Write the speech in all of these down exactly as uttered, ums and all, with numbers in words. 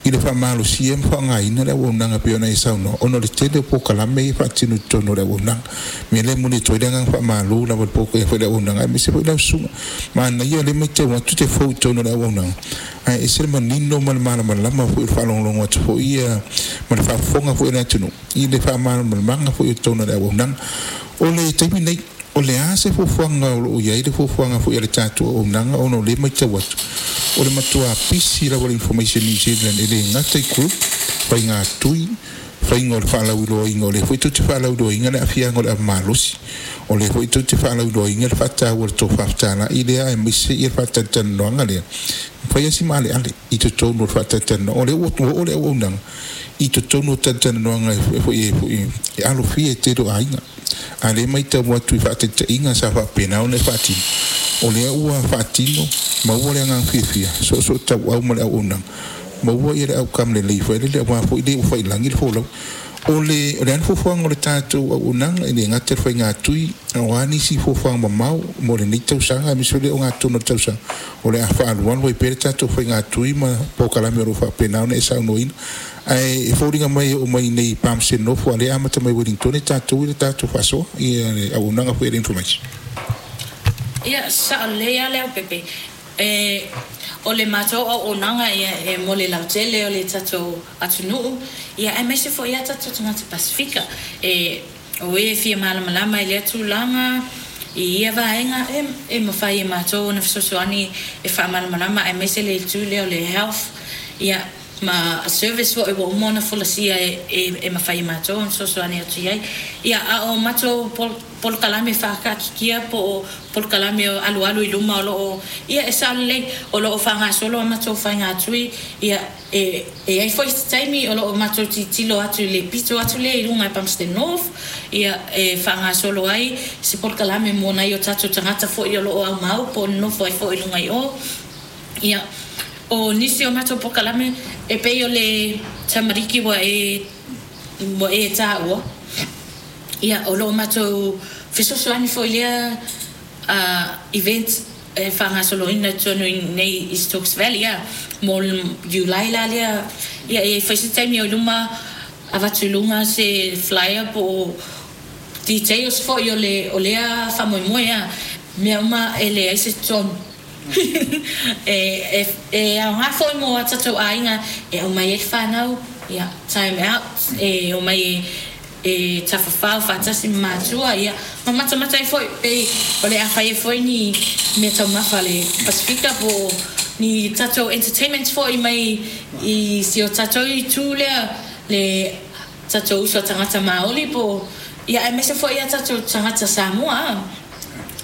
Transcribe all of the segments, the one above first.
I le faamalosia ma faaaogaina le auaunaga pei ona e saunoa ona o le tele o polokalame ia faatino i totonu o le auaunaga. Mea lea e momoli atu ai le agaga faamalo lava i le foi le auaunaga aemaise foi lau susuga. Manaia o lea e matau atu te fou i totonu o le auaunaga ae ese le manino ma le malamalama foi o le faalogologo atu foi ia ma le faafofoga foi a le atunuu i le faamalamalamaga foi o totonu o le auaunaga. O le taimi nei, o le a se fuafuaga o loo i ai le fuafuaga foi a le tatou auaunaga, ona o lea e matau atu o le matua pisi lava le Information New Zealand, e le gata i group faiga tui, faiga o le faalauiloaina, o lea foi tou te faalauiloaina le aafiaga o le avamalosi, o lea foi tou te faalauiloaina le faataua o le tofa fetalai lea, aemaise ia le faatalatalanoaga lea faia si maaleale i totonu o le faatalatalanoaga. O lea ua oo le auaunaga i totonu o talatalanoaga foi e alofia e tele o aiga, a lea matau atu i faataitaiga sa faapena ona e faatino, o lea ua faatino maua le agaga fiafia soosoo tauau ma le auaunaga maua ia le outcome lelei foi lele aua foi le ua failagi le folau. O le o le a le fuafuaga o le tatou auaunaga, e le gata le faiga tui, o a nisi fuafuaga mamao mo lenei tausaga aemaise foi le ogatotonu o le tausaga o le a faaalualu ai pea le tatou faiga tui ma polokalame o lo o faapena ona e saunoaina, ae e foliga mai e oo mai nei Palmerston North a lea amata mai Wellington e tatou i le tatou faasoa ia le auaunaga foi a le Information? Ia, sao lelei lava le Leaupepe. E, o le matou auaunaga ia e mo le lautele o le tatou atunuu, ia aemaise foi ia tatou tagata Pasefika. E, o e fia malamalama i lea tulaga i ia vaega, e, e mafai e matou ona fesoasoani e faamalamalama, aemaise le itu lea o le health, ia ma service foi ua uma ona folasia e, e, e mafai e matou ona fesoasoani atu i ai. Ia, a o matou pol, polokalame faakaatitia po o polokalame o alualu i luma o loo, ia e sao lelei o loo faagasolo a matou faigatui. Ia e e i ai foi se taimi o loo matou tilotilo atu i le pito atu lea i luga i Palmerston North, ia e faagasolo ai se polokalame mo nai o tatou tagata foi o loo aumau po o nonofo ai foi i luga i o. Ia o nisi o matou polokalame e pei o le tamariki ua e ua e taua, ia o loo matou fesoasoani foi lea uh, event e faagasoloina i totonu i nei i Stokes Valley ia mo Iulai la lea. Ia e fai se taimi o i luma avatu i luga se flyer po o details foi o le o lea faamoemoe a mea uma e leai se tonu e e e aoga foi mo a tatou aiga e aumai ai le fanau, ia time out e omai e e tafafao faatasi ma matua, ia ma matamata ai foi pei o le a fai ai foi ni mea taumafa a le Pasefika po o ni tatou entertainment foi mai i si o tatou itu lea, le tatou uso a tagata Maoli po o ia aemaise foi ia tatou tagata Samoa a.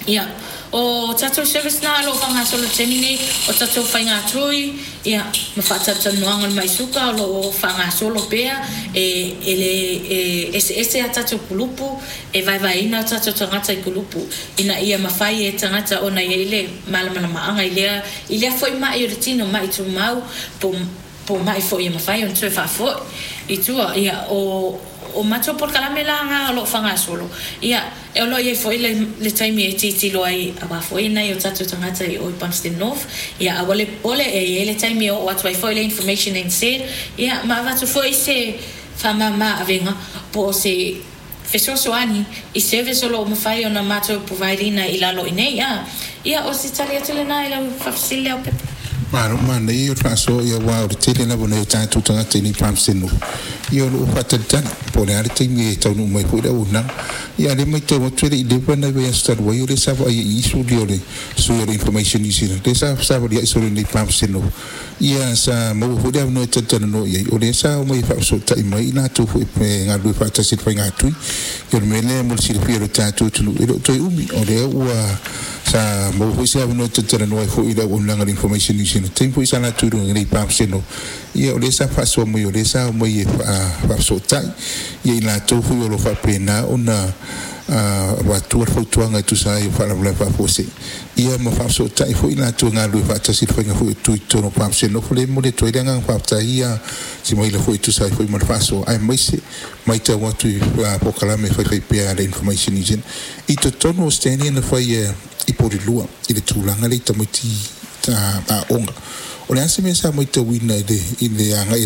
Ia, o tatou service na o lo o faagasolo i le taimi nei, o tatou faigatui, ia, ma faatalatalanoaga o le mai suka o lo o faagasolo pea. E, e le e eseese a tatou kulupu, e vaevaeina o tatou tagata i kulupu, ina ia mafai e tagata ona i ai le malamalamaaga i lea, i lea foi mai o le tino, mai tumau, po, po mai foi e mafai ona toe faafoi i tua. Ia, o, o matou polokalame la na o lo o faagasolo, ia, e o lo o i ai foi le, le taimi e tilotilo ai aua foi nai o tatou tagata i o i Palmerston North. Ia, aua le popole, e i ai le taimi e oo atu ai foi le Information N Z, ia, ma avatu foi se faamama avega po o se fesoasoani i service o lo o mafai ona matou provide ina i lalo i nei. A ia, o se tali atu lena i lau faafesili, Leaupepe. Malo, manaia o le faasoa ia aua o le tele lava o nai o tatou tagata i nei Palmerston North ia o lo o faatalitali po o le a le taimi e taunuu mai foi le auaunaga. Ia a lea matau atu e le i leva nai vaiaso talu ai o lea sa vaaia i isu lia o le sui o le Information New Zealand lea sa savaliai solo i nei Palmerston North, ia sa maua foi le avanoa e talatalanoa i ai, o lea sa omai e faafesootai mai i latou foi e galulue faatasi i le faigatui. Ia o le mea lea mo le silafia o le tatou atunuu, e le o toe umi o lea ua sa maua foi se avanoa e talatalanoa ai foi i le auaunaga a le Information New Zealand taimi foi sa latou i luga nei Palmerston North. Ia o lea sa faasoa mai o lea sa omai e faafesootai ia i latou foi o lo o faapena ona avatua le fautuaga e tusa ai o faalavelave faafuasei, ia ma faafesootai foi i latou e galulue faatasi i le faiga foi o tui i totonu o Palmerston North. Lea e momoli atu ai le agaga faafetai ia Simaila foi e tusa ai foi ma le faasoa aemaise matau atu i polokalame e faifai pea a le Information New Zealand i totonu o stand na fai i Porirua i le tulaga lea i tamaiti aoga. O le a se mea sa matauina i le i le agai atu?